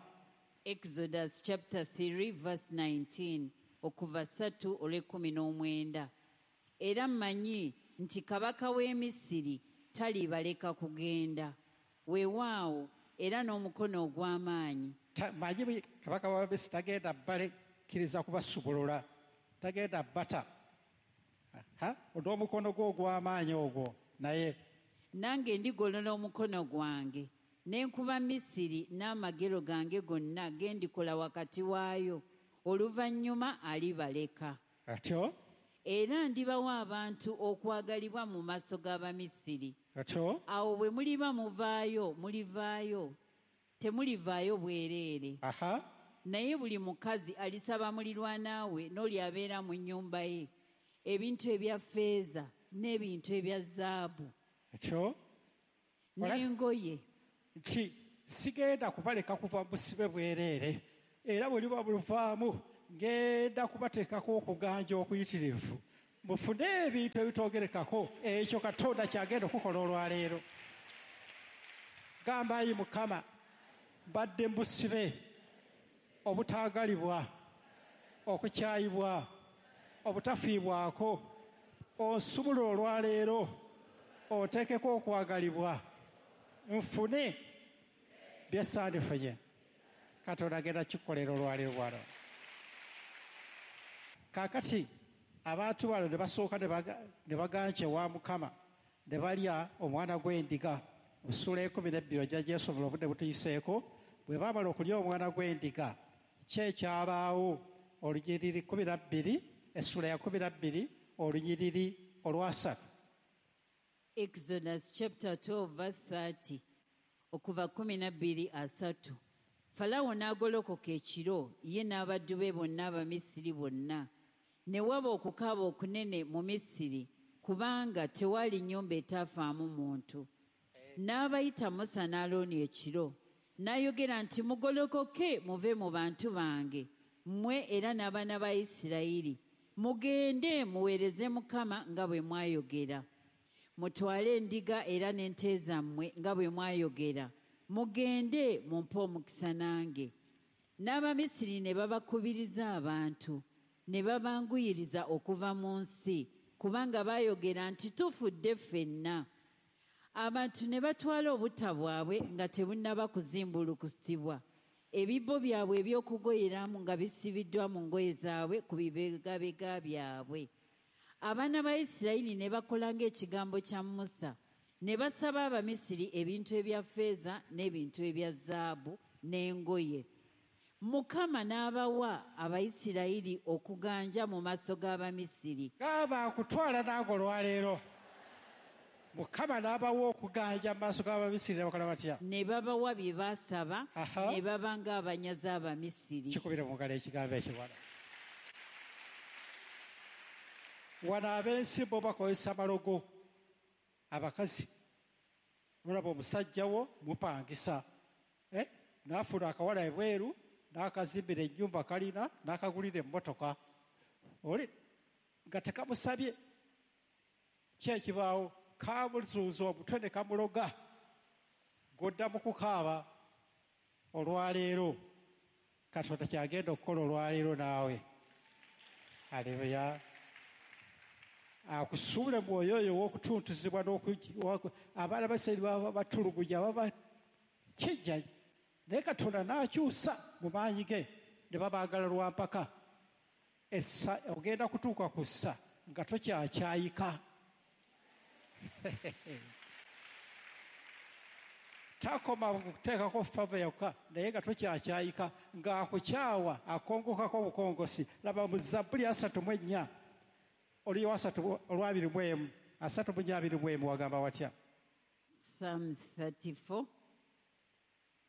Exodus chapter three verse nineteen, okuva ssatu olw'ekkumi n'omwenda. Era mmanyi nti kabaka w'e Misiri talibaleka kugenda, weewaawo era n'omukono ogw'amaanyi. Manyi kabaka wa Misiri tagenda balekkiriza kubasubulula, tagenda bata n'omukono gwe ogw'amaanyi ogwo. Naye nange ndigolola omukono gwange ne nkuba Misiri n'amagero gange gonna ge ndikola wakati waayo, oluvannyuma alibaleka. Atyo era ndibawa abantu okwagalibwa mu maaso g'Abamisiri. Atyo awo bwe muliba muvaayo mulivaayo, temulivaayo bwereere. Aha. Naye buli mukazi alisaba mulirwana we n'oli abeera mu nnyumba ye ebintu ebya ffeeza n'ebintu ebya zaabu Atyo n'engoye. Nti sigenda kubaleka kuva mu busibe bwereere, era bwe liba buluvaamu Ngenda kubateekako okuganja okuyitirivu, mufune ebintu ebitoogerekako. Ekyo Katonda kyagenda okukola olwaleero. Gamba, ayi Mukama, mbadde mbusibe, obutaagalibwa, okukyayibwa, obutafiibwako. Onsumula olwaleero, oteekeko okwagalibwa, nfune bye sandifunye. Katonda agenda kikolera olwaleero bwano. Kaakati abantu bano ne basooka ne baganja ewa Mukama, ne balya omwana gw'endiga. Mu ssuula ekumi n'ebbiri ojja gyesobola, obudde butuyiseeko. Bwe baamala okulya omwana gw'endiga, ki ekyabaawo? Olunyiriri kumi na bbiri, essula ya kumi na bbiri, olunyiriri olwasatu. Exodus chapter twelve verse thirty, okuva kumi na bbiri asatu. Falaawo n'agolokoka ekiro, ye n'abaddu be bonna Abamisiri bonna. Ne waba okukaaba okunene mu Misiri, kubanga tewali nnyumba etafaamu muntu. N'abayita Musa ne Alooni ekiro, n'ayogera nti, mugolokoke muve mu bantu bange, mmwe era n'abaana ba Isirayiri, mugende muweereze Mukama nga bwe mwayogera. Mutwale endiga era n'ente zammwe nga bwe mwayogera, mugende mumpe omukisa nange. N'Abamisiri ne babakubiriza abantu, ne babanguyiriza okuva mu nsi, kubanga baayogera nti, tufudde ffenna. Abantu ne batwala obutta bwabwe nga tebunnaba kuzimbulukusibwa, ebibbo byabwe eby'okugoyeramu nga bisibiddwa mu ngoye zaabwe ku bibegabega byabwe. Abaana ba Isirayiri ne bakola ng'ekigambo kya Musa, ne basaba Abamisiri ebintu ebya ffeeza n'ebintu ebya zaabu n'engoye. Mukama n'abawa Abayisirayiri okuganja mu maaso g'Abamisiri. Gaba akutwala n'ago olwaleero. Mukama n'abawa okuganja mu maaso g'Abamisiri, ne bakola batya? Ne babawa bye baasaba, ne baba ng'abanyazi Abamisiri. Kikubire mu ngalo ekigambo ekyo wano. Wano ab'ensi bo bakozesa malogo. Abakazi, mulaba omusajja wo mupangisa, eh? N'afuna akawala ebweru, n'akazimbira ennyumba kalina, n'akagulira emmotoka. Oli nga tekamusabye. Ki ekibaawo? Kamuzuuza omutwe ne kamuloga. Godda mu kukaaba olwaleero. Katonda kyagenda okukola olwaleero naawe. Aleluya. Akusuule mwoyo oyo ow'okutuntuzibwa abaana ba Isirayiri baba batulugunya, baba kijja, naye Katonda n'akyusa mu maanyi ge ne babaagala lwa mpaka. Essa ogenda kutuuka ku ssa nga tokyakyayika. Takoma kuteekako fava yokka, naye nga tokyakyayika, ng'akukyawa akongokako obukongosi. Laba mu Zabbuli asatu mu ennya, oliyo asatu olwabiri mu emu, asatu mu nnya abiri mu emu, wagamba watya? Psalms thirty-four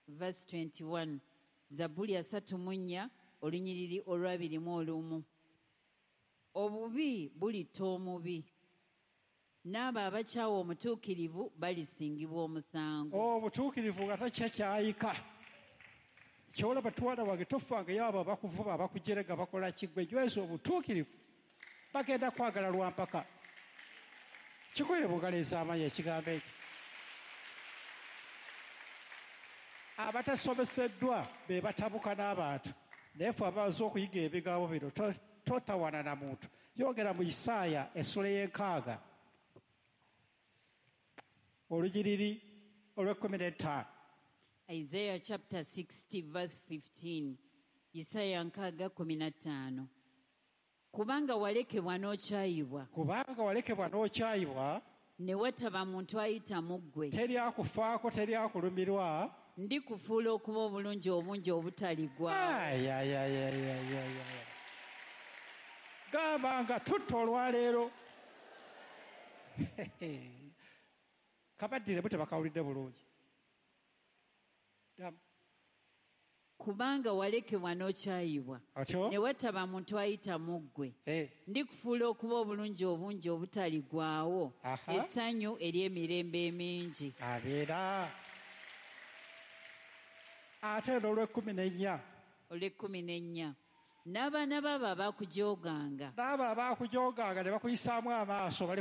verse twenty-one. Zabbuli asatu mu nnya, olunyiriri olwabiri mu olumu. Obubi bulitta omubi, n'abo abakyawa omutuukirivu balisingibwa omusango. Omutuukirivu nga takyakyayika. Kyolaba twana wange, tofangayo abo abakuvuma, abakujerega, bakola ki, ggwe nyweza obutuukirivu, bagenda kwagala lwa mpaka. Kikubire mu ngalo ez'amaanyi ekigambo ekyo. Abatasomeseddwa be batabuka n'abantu, naye ffe abaze okuyiga ebigambo bino totawana na muntu. Yogera mu Isaaya essula y'enkaaga, olunyiriri olw'ekkumi n'ettaano. Isaiah chapter sixty verse fifteen. Isaaya nkaaga kkumi na ttaano. Kubanga walekebwa n'okyayibwa. Kubanga walekebwa n'okyayibwa. Ne wataba muntu ayita mu ggwe. Teri akufaako, teri akulumirwa. Ndikufuula okuba obulungi obungi obutaligwa. Gamba nga tutta olwaleero. Kabaddiremu tebakawulidde bulungi. Kubanga walekebwa n'okyayibwa. Ne wataba muntu ayita mu ggwe. Ndikufuula okuba obulungi obungi obutaligwawo. Essanyu ery'emirembe emingi. Abeera. Ate n'olw'ekkumi n'ennya. Olw'ekkumi n'ennya. N'abaana baabo abakujooganga. N'abo abakujooganga ne bakuyisaamu amaaso bali.